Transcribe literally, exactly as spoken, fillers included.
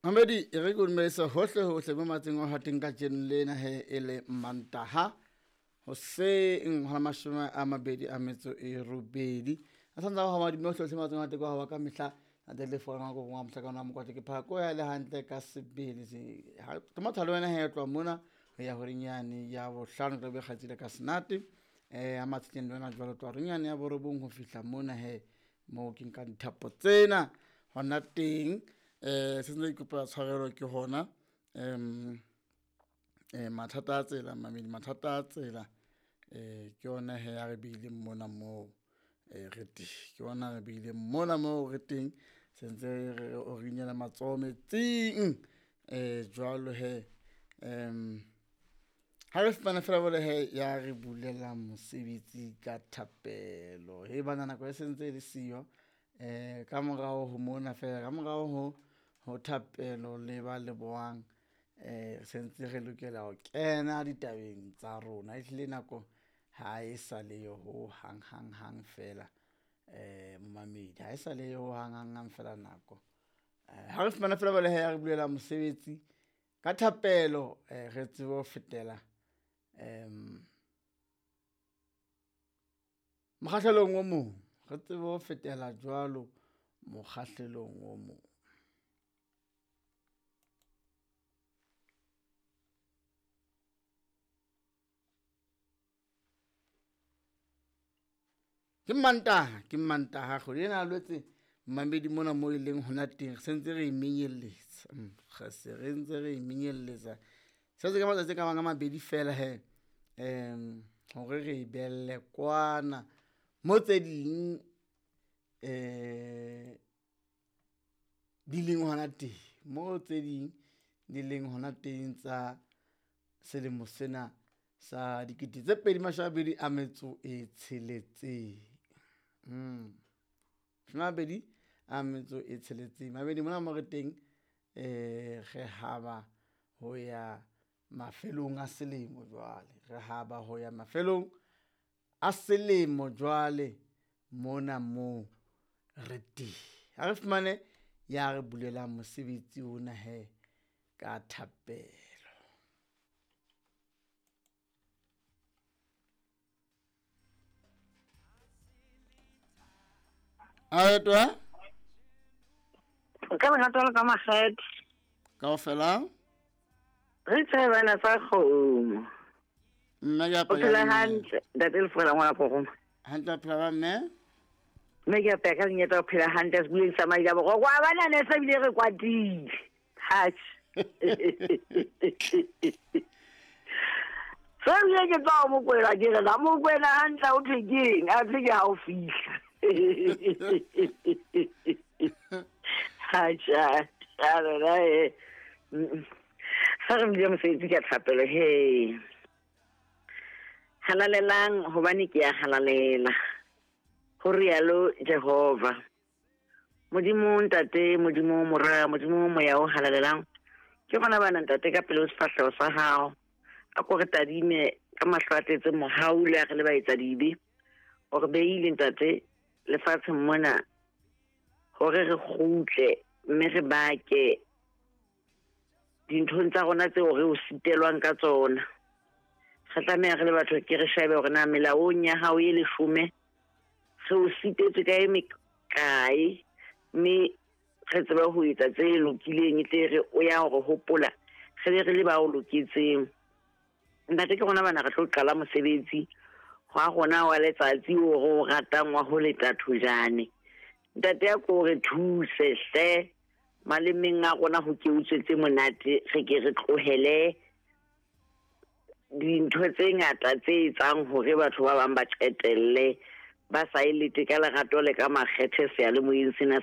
Mamedi e re ke o dumedisa hohle hohle mo matseng o hateng ka jeno lena he e le Mantaha hoseng hora mashome a mabedi a metso e robedi. A santsa ho madimo hohle hohle matseng o hateng kwa ka mehla ate le fora go ngwa mohla kana mokwatla ke phako ya le hantle ka sebele se ha ke mathalo wena he tloha mona ho ya horeng yane ya bohlano tla be kgatsile ka senate eh a matsheng le wena jwalo tloha horeng yane ya borobong ho fihla mona he mo ke nka dithapo tsena hona teng. Eh se ntse ke kopa tshwarelo ke hona em eh mathata a tsela mamedi mathata a tsela eh ke yona he ya re beileng mona moo eh re teng ke yona re beileng mona moo re teng se ntse re o rinyela matsoho metsing eh jwalo he em ha re fumana fela bole he ya re bulela mosebetsi ka thapelo he bana nako e sentse e le siyo eh ka morao ho mona fela ka morao ho ho thapelo le ba lebohang eh sentse re lokela ho kena ditabeng tsa rona ehlile nako ha e sa le yo ho hang hang hang fela eh momamedi ha e sa le yo hang hang hang fela nako eh ha re fumana fela bole he ya re bulela mosebetsi ka thapelo eh re tsebe ho fetela em mokgahlelong o mong re tsebe ho fetela jwalo mokgahlelong o mong. Ke Mantaha, ke Mantaha kgwedi ena Lwetse mamedi mona mo e leng hona teng re sentse re e menyelletsa. Re se re ntse re e menyelletsa. Se se ka matsatsi a ka bang a mabedi fela he em hore re e belle kwana mo tse ding eh di leng hona teng mo tse ding di leng hona teng tsa selemo sena sa dikete tse pedi mashome a mabedi a metso e tsheletseng. Mm. Mashome a mabedi a metso e tsheletseng. Mabedi mona mo re teng eh re haba ho ya mafelong a selemo jwale. Re haba ho ya mafelong a selemo jwale mona mo re teng. Ha re fumane ya re bulela mosebetsi ona he ka thapelo. Aetwa? Ka lerato la ka makgethe. Kaofela? Re tsebana sa kgomo. Mme ke O apaya phela mme. hantle, ntate Lefola ngwana Poroma. Hantle a phela ba mme? Mme ke apaya ka lenyeta o phela hantle sebuleng sa Maila Borwa. Kwa bana ne se bile re kwatile. Hatjhe. Se bile ke tswa ho Mokwena ke re la Mokwena hantle o thwe keng? A thwe ke ha o fihla. Hatjhe, a rona e. Ha re bile mosebetsi ka thapelo he. Halalelang hobane ke ya halalela. Ho rialo Jehova. Modimo ntate, Modimo mora, Modimo moya o halalelang. Ke gona bana ntate ka pele ho sefahleho sa hao. A ko re tadime ka mahlo a tletseng mohau le a re le baetsa dibe. O re beile ntate lefatsheng mona hore re kgutle mme re bake dinthong tsa rona tseo re o sitelwang ka tsona. Re tlameha re le batho ke re shebe hore na melaong ya hao e leshome re o sitetswe ka e mekae, mme re tsebe ho etsa tse lokileng e tle re o ya hore hopola re be re le ba o loketseng. Ntate ke rona bana re tlo qala mosebetsi wa rona wa letsatsi o re o ratang wa ho leta thojane. Ntate ya ko re thuse hle malemeng a rona ho ke utswe tse monate, re ke re tlohele dintho tse ngata tse etsang hore batho ba bang ba qetelle ba sa e lete ka lerato le ka makgethe seyalemoyeng sena.